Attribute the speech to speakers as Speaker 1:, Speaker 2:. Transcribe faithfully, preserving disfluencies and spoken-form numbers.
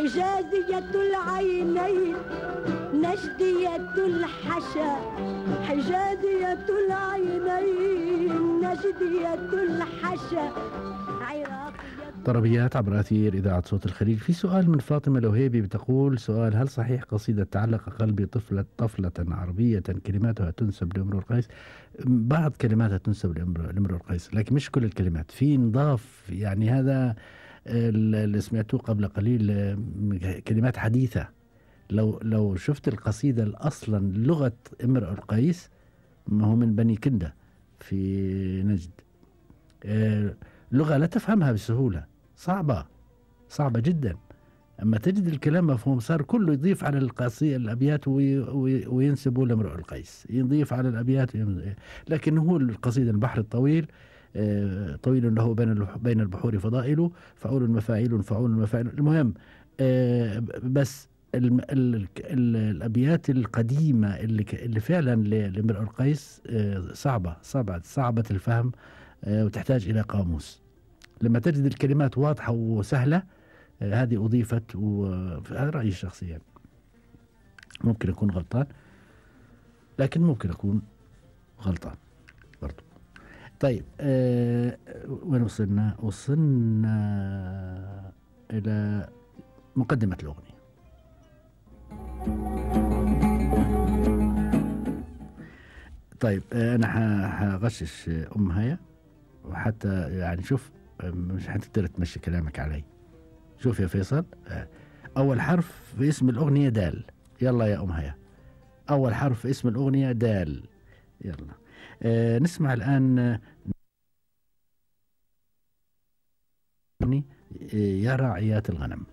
Speaker 1: حجازية العينين نجدية الحشا، حجازية العينين نجدية الحشا،
Speaker 2: طربيات عبر أثير إذاعة صوت الخليج. في سؤال من فاطمة الوهيبي بتقول سؤال: هل صحيح قصيدة تعلق قلبي طفلة طفلة عربية كلماتها تنسب لامرؤ القيس؟ بعض كلماتها تنسب لامرؤ القيس لكن مش كل الكلمات، في نضاف يعني هذا اللي سمعتوه قبل قليل كلمات حديثة. لو لو شفت القصيدة أصلا لغة امرؤ القيس، ما هو من بني كندة في نجد، آه لغة لا تفهمها بسهولة، صعبة صعبة جدا. أما تجد الكلام مفهوم، صار كله يضيف على القصيدة الأبيات وي وي وينسبوا لامرؤ القيس، يضيف على الأبيات. لكن هو القصيدة البحر الطويل، آه طويل له بين بين البحور فضائل، فعول مفاعيل فعول مفاعيل. المهم آه بس ال ال ال الأبيات القديمة اللي اللي فعلا لامرؤ القيس آه صعبة صعبة صعبة الفهم، آه وتحتاج إلى قاموس. لما تجد الكلمات واضحة وسهلة آه هذه أضيفت، وهذا رأيي الشخصي يعني. ممكن أكون غلطان، لكن ممكن أكون غلطان برضو. طيب آه وين وصلنا؟ وصلنا إلى مقدمة الأغنية. طيب آه أنا هغشش أم هيا، وحتى يعني شوف مش هتقدر تمشي كلامك علي. شوف يا فيصل، آه أول حرف في اسم الأغنية دال. يلا يا أم هيا، أول حرف في اسم الأغنية دال. يلا آه نسمع الآن آه يا راعيات الغنم.